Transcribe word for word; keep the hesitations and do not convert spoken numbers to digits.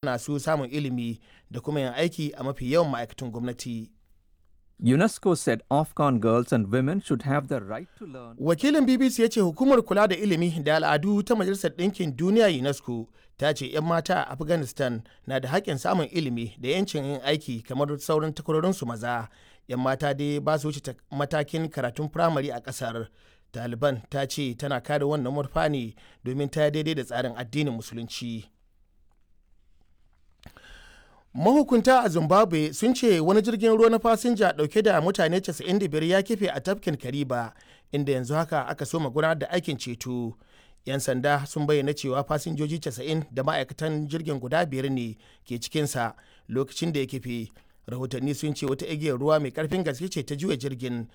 hana su samun ilimi da kuma yin aiki a mafi yawan ma'aikatan gwamnati. UNESCO said Afghan girls and women should have the right to learn. Wakilin B B C ya ce hukumar kula da ilimi da al'adu ta Majalisar Ɗinkin Duniya UNESCO ta ce 'yan mata a Afghanistan na da haƙƙin samun ilimi da 'yancin yin aiki kamar sauran takwarorinsu maza. 'Yan mata dai ba su wuce matakin karatun firamare a ƙasar. Taliban ta ce tana kare wannan murfa ne domin ta daidai da tsarin addinin Musulunci. Mahukunta a Zimbabwe sun ce wani jirgin ruwa na fasinja dauke da mutane casa'in da biyar ya kife a tafkin Kariba, inda yanzu haka aka soma gudanar da aikin ceto. 'Yan sanda sun bayyana cewa fasinjoji casa'in da ma'aikatan jirgin guda biyar ne ke cikinsa lokacin da ya kife. Rahotanni sun ce wata igiyar ruwa mai karfin gaske ce ta juya jirgin.